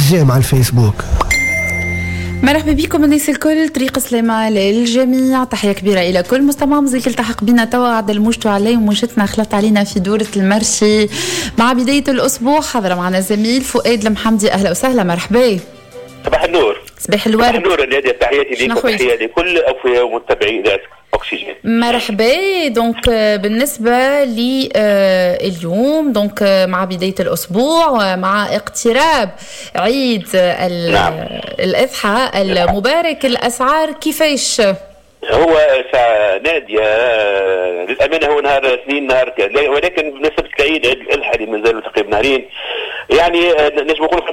j'aime على الفيسبوك. مرحبا بكم الناس الكل، طريق سلامة للجميع، تحية كبيرة إلى كل مستمع مزيك التحق بنا توا عدل موجته عليه وموجتنا خلطت علينا في دورة ال marché مع بداية الأسبوع. حضر معنا زميل فؤاد المحمدي، أهلا وسهلا، مرحبا. صباح النور. صباح الورد. صباح النور نادية، تحياتي لك وتحية لكل أوفياء ومتابعي إذاعة أكسجين. مرحبا. donc بالنسبة لليوم، donc مع بداية الأسبوع ومع اقتراب عيد الأضحى المبارك، الأسعار كيفاش؟ هو نادية للأمانة هو نهار اثنين نهار، ولكن بالنسبة للعيد عيد الأضحى اللي مازالوا تقريبا نهارين، يعني نجم نقول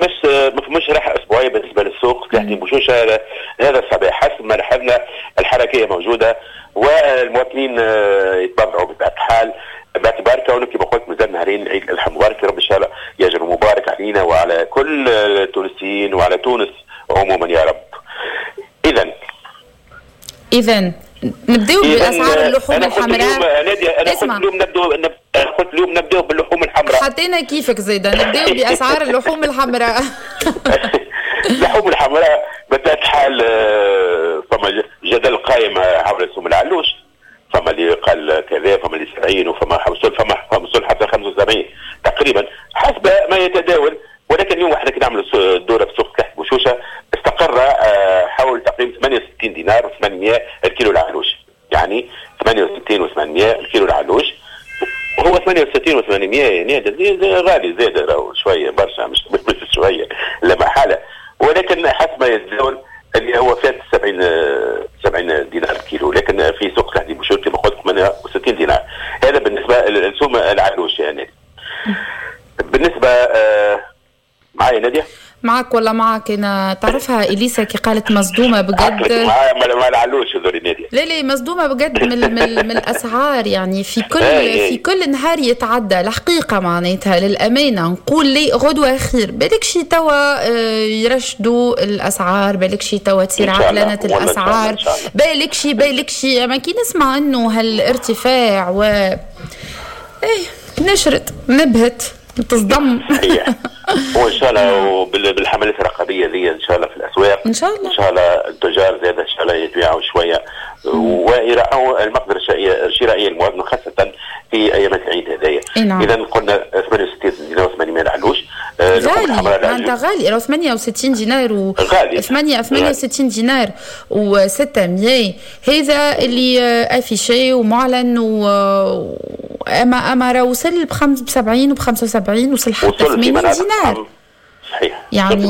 ما فماش راحة أسبوعية بالنسبة للسوق. سلاح بوشوشة هذا الصباح حسب ما لاحظنا الحركية موجودة والمواطنين يتبضعوا بطبيعة الحال، باعتبار كونه كما قلت مازال نهارين عيد الأضحى المبارك، رب إن شاء الله يجر مبارك علينا وعلى كل التونسيين وعلى تونس عموما يا رب. إذا نبداو بأسعار اللحوم الحمراء. أنا قلت اليوم نبداو باللحوم الحمراء. حطينا كيفك زيدا، نبداو بأسعار اللحوم الحمراء. اللحوم الحمراء بطبيعة الحال فما جدل قائم حول سوم العلوش، فما اللي قال كذا، فما اللي 70، وفما وصل حتى 75 تقريبا حسب ما يتداول. ولكن اليوم احنا كي نعملوا الدورة في سوق تحت بوشوشه استقر حول تقريبا 68 دينار و800 الكيلو العلوش، يعني 68 و800 الكيلو العلوش. هو 68 و800 يعني غالي زاد راهو شوية برشا، مش شوية لا محالة، ولكن حسب ما يتداول اللي هو فات 70 دينار الكيلو، لكن في سوق تحت بوشوشه كما قلت 68 دينار. هذا بالنسبة للسوم العلوش. يعني بالنسبة معايا نادية؟ معك ولا معك انا تعرفها اليسا كي قالت مصدومة بجد. معايا ما العلوش هذول نادية. لا لا مصدومة بجد من الاسعار، يعني في كل في كل نهار يتعدى الحقيقة معناتها للامانة نقول لي غدوه خير، بالك شي توا يرشدوا الاسعار، بالك شي توا تصير عقلنه الاسعار، بالك شي اما كي نسمع انه هالارتفاع و ايه نشرت نبهت تصدم. وان شاء الله بالحملات الرقابية ذي ان شاء الله في الاسواق، ان شاء الله ان شاء الله التجار زاد ان شاء الله يبيعوا شوية ويراعوا المقدرة الشرائية للمواطن خاصة في ايام العيد هذايا. نعم. اذا قلنا 68 دينار و800 العلوش. غالي انت غالي، راهو 68 دينار و 68 دينار و600، هذا اللي affiché ومعلن و اما راه وصل ب 75 و 75، وصل حتى 80 دينار. صحيح، يعني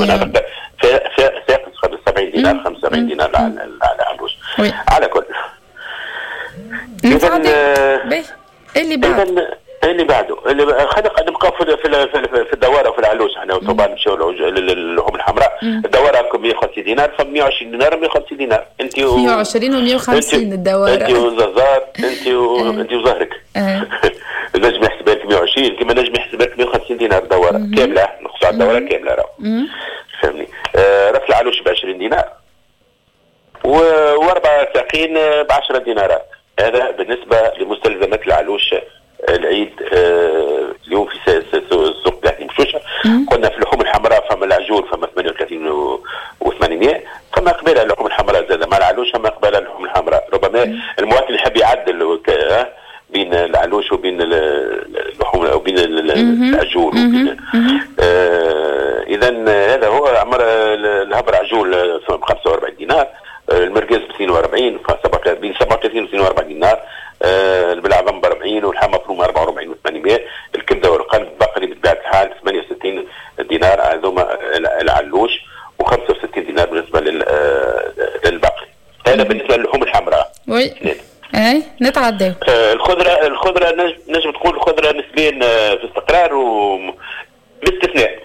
فاق 75 دينار 75 دينار على العلوش. على كل اذا اللي بعد اللي بعده اللي خلينا نبقى في الدواره في العلوش احنا طبعا نمشيو للحوم الحمراء. الدواره 150 دينار، ف 120 دينار 150 دينار، انت 120 و150 الدواره، انت والززار، انت وزهرك. نجم يحسب لك 120 كما نجم يحسب لك 150 دينار دواره كاملة، نقص على الدورة كاملة راهو فهمني. راس العلوش ب 20 دينار واربع ساقين ب 10 دينارات. هذا بالنسبة لمستلزمات العلوش العيد اليوم في سوق تحت بوشوشه. قلنا في اللحوم الحمراء فما العجول فما 38 و800، فما قبل اللحوم الحمراء زاد مع العلوش، فما قبل اللحوم الحمراء. ربما المواطن يحب يعدل بين العلوش وبين اللحوم او بين العجول. اذا هذا هو عمر الهبر عجول ب 45 دينار، المركز ب 42، بين 37 و 42 دينار، البلعظم ب 40، واللحم مفروم 44 و800، الكبده والقلب بقري بطبيعة الحال 68 دينار هذوما العلوش، و65 دينار بالنسبة للبقري. هذا بالنسبة للحوم الحمراء. oui اي نتعداو. الخضرة نجم تقول الخضرة نسبيا في استقرار و باستثناء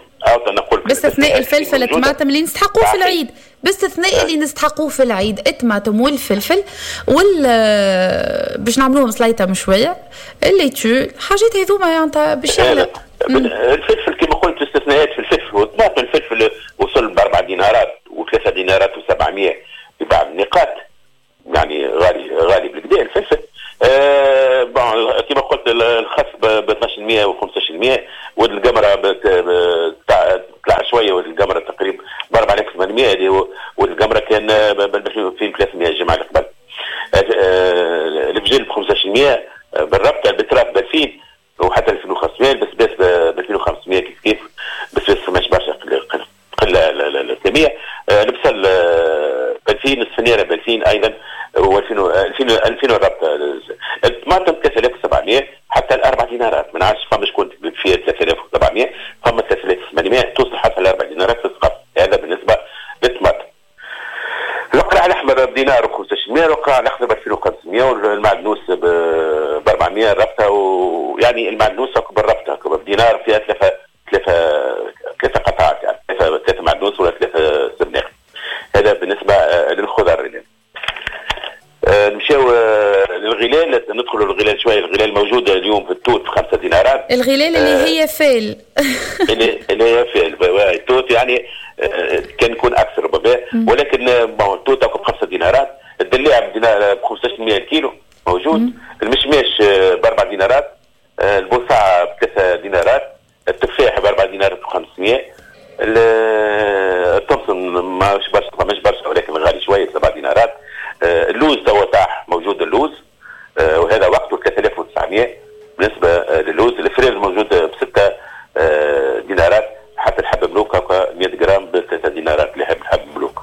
نقول باستثناء الفلفل الطماطم اللي نستحقوه في العيد، باستثناء اللي نستحقوه في العيد الطماطم والفلفل وال باش نعملوهم سليطه مشوية اللي تو الحاجات هذوما يعني باش يغلق. الفلفل كما قلت استثناءات في الفلفل والطماطم. الفلفل وصل ب4 دينارات و3 دينارات و700 في بعض النقاط، يعني غالي غالي بالكدا الفلفل. كما قلت الخس ب 12% و 15%، والقمره طلع شوية، والقمره تقريبا 2800 اللي هو، والقمره كان ب 2300 الجمعة اللي قبل. الفجل ب 1500 بالربطه، ال betterave ب 2000 وحتى 2500، البسباس ب 2500 كيف كيف، بسباس فماش برشا قلة الكمية. البصل ب 2000، السفنيره ب 2000 ايضا و 2000 الربطه. الطماطم 3700 حتى الاربع دينارات، ما نعرفش فما شكون فيها 3700، فما 3800 توصل حتى الاربع دينارات في السقف. هذا بالنسبة للطماطم. القرع الاحمر بدينار و1500، القرع الاخضر ب 2500، والمعدنوس ب 400 الربطه، ويعني المعدنوس بالربطه بدينار فيها ثلاثة قطعات، يعني ثلاثة معدنوس ولا ثلاثة سبناخ. هذا بالنسبة للخضر. نمشيو للغلال، ندخلوا للغلال شوية. الغلال موجود اليوم في التوت ب5 دينارات. الغلال اللي هي فال اللي هي فال التوت، يعني كان يكون اكثر ربما، ولكن التوت ب5 دينارات. الدلاع بدينار ب 1500 الكيلو موجود. المشماش ب4 دينارات، البوصاع ب3 دينارات، التفاح ب4 دينارات و500، الطمسم ماهوش برشا، مش برشا ولكن غالي شوية 7 دينارات. اللوز توا طاح موجود اللوز، وهذا وقته 3900 بالنسبة للوز. الفريز موجود ب6 دينارات، حتى الحبة ملوك 100 جرام ب3 دينارات اللي يحب الحبة ملوك.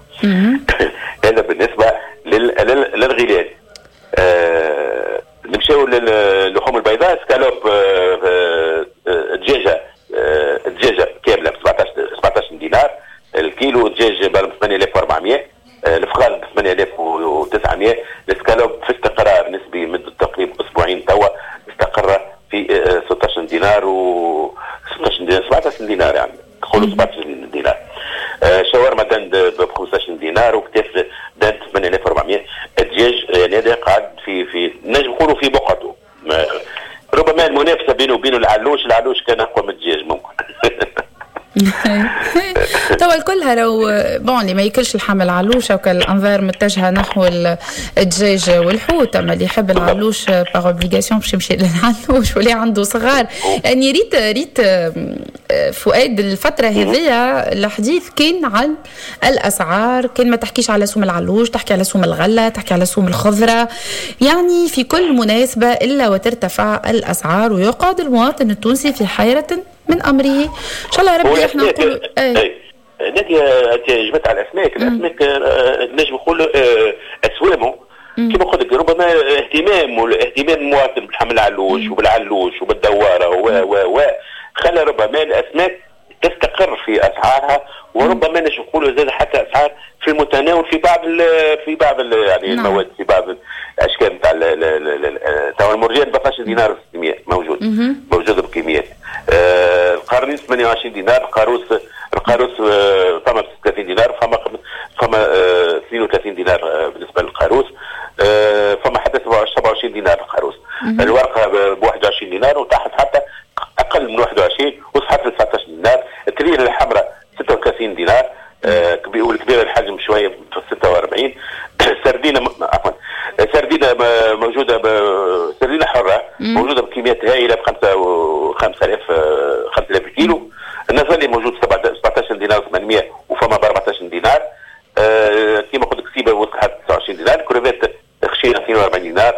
هذا بالنسبة للغلال. نمشيو للحوم البيضاء. سكالوب دجاجه كاملة ب 17 دينار الكيلو، دجاج ب 8400، الفخال ب 8900. السكالوب في استقرار نسبي مده تقريبا اسبوعين توا، استقر في 16 دينار و 16 دينار 17 دينار، يعني نقولوا 17 دينار. شاورما dinde ب 15 دينار، وكتاف dinde 8400. الدجاج يعني هذا قاعد في نجم نقولوا في بقعته، ربما المنافسة بينه وبين العلوش، العلوش كان اقوى من الدجاج ممكن. توا الكل راهو bon اللي ما ياكلش اللحم العلوش او الانظار متجهة نحو الدجاج والحوت، اما اللي يحب العلوش par obligation باش يمشي للعلوش، واللي عنده صغار. يعني ريت فؤاد الفترة هذيا الحديث كان عن الاسعار، كان ما تحكيش على سوم العلوش، تحكي على سوم الغلة، تحكي على سوم الخضرة، يعني في كل مناسبة الا وترتفع الاسعار ويقعد المواطن التونسي في حيره من امره. ان شاء الله ربي احنا نقولوا ايه. نادية انت جبت على الاسماك، الاسماك نجم نقول اسوامه كما قلت لك ربما اهتمام المواطن بالحمل العلوش وبالعلوش وبالدواره و خلى ربما الاسماك تستقر في اسعارها، وربما نجم نقولوا زاد حتى اسعار في المتناول في بعض يعني المواد، في بعض الاشكال نتاع تاع المرجان ب 12 دينار 600 موجود بكميات. القرنيس 28 دينار، القاروس فما 30 دينار، فما 32 دينار بالنسبة للقاروس، فما حتى 27 دينار القاروس. الورقة ب 21 دينار وتحت حتى اقل من 21 وصحت 19 دينار. التريله الحمراء 36 دينار، والكبيرة الحجم شوية 46. سردينه عفوا سردينه موجودة سردينه حره موجودة بكميات هائلة ب 5000 كيلو. النزلي موجود 17 دينار 800 وفما ب 14 دينار. كيما قلت لك سيبه وصلت 29 دينار، كروفات خشينه 42 دينار.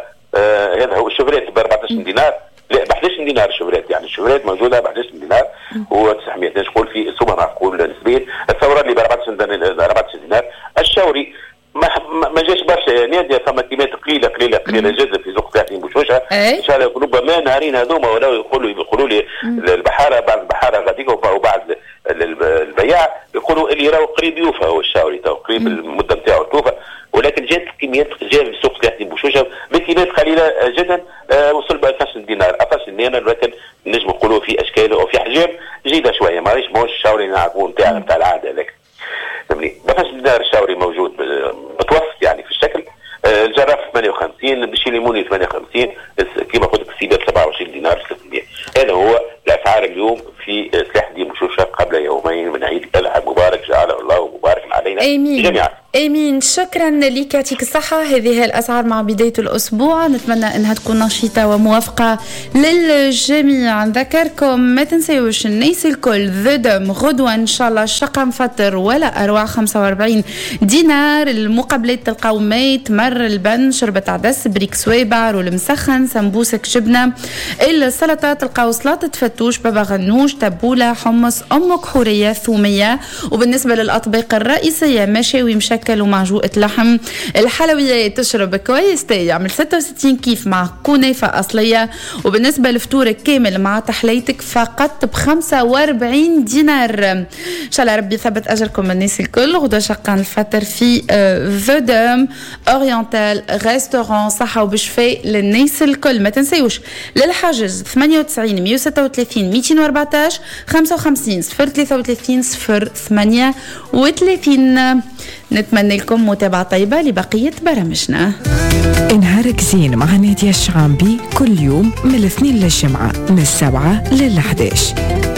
هذا هو ال chevrette ب 14 دينار، لا ب 11 دينار ال chevrette، يعني ال chevrette موجودة ب 11 دينار و900، نقول في سومه معقول نسبيا. الثورة اللي ب 14 دينار. الشاوري ما جاش برشا يا ناديه، فما كميات قليله قليله قليله جدا في سوق 30 بوشوشه. ان شاء الله ربما نهارين هذوما ولا يقولوا لي البحارة، بعض البحارة غاديك وبعض البياع يقولوا اللي راهو قريب يوفى هو الشاوري تو قريب المدة نتاعو توفى، ولكن جات كميات جاء في سوق 30 بوشوشه بكميات قليله جدا، وصل ب 12 دينار 12 دينار، ولكن نجم نقولوا في اشكال او في احجام جيدة شوية، ماهيش الشاوري نعرفوه نتاع العادة هذاك. فهمني 12 دينار الشاوري موجود متوسط يعني في الشكل. الجراف 58، بشي ليموني 58، كما قلت لك السيبه 27 دينار 600. هذا هو الاسعار اليوم في سلاح الدين بوشوشه قبل يومين من عيد الاضحى المبارك، جعله الله مبارك علينا جميعا. امين، شكرا لك، يعطيك الصحة. هذه هي الاسعار مع بداية الاسبوع، نتمنى انها تكون نشيطه وموافقه للجميع. نذكركم ما تنسيوش الناس الكل The Dôme غدوه ان شاء الله شقان الفطر ولا اروع، 45 دينار. المقابلات تلقاو ماء، تمر، البن، شربة عدس، بريك سويبع، roll مسخن، سمبوسك جبنه. السلطة تلقاو سلطة فتوش، بابا غنوش، تبوله، حمص، امك حوريه، ثوميه. وبالنسبة للاطباق الرئيسية مشاوي مشكل ومعجوقة لحم. الحلويات تشرب كويس تاي يعمل 66 كيف مع كنافة أصلية. وبالنسبة لفطورك كامل مع تحليتك فقط ب 45 دينار. إن شاء الله ربي يثبت أجركم الناس الكل. غدا شقان الفطر في The Dôme Oriental Restaurant، صحة وبشفاء للناس الكل. ما تنسيوش للحجز 98 136 214 55 033 0 38. نتمنى لكم متابعة طيبة لبقية برامجنا. نهارك زين مع نادية الشعامبي كل يوم من الاثنين للجمعة من 7 لل11.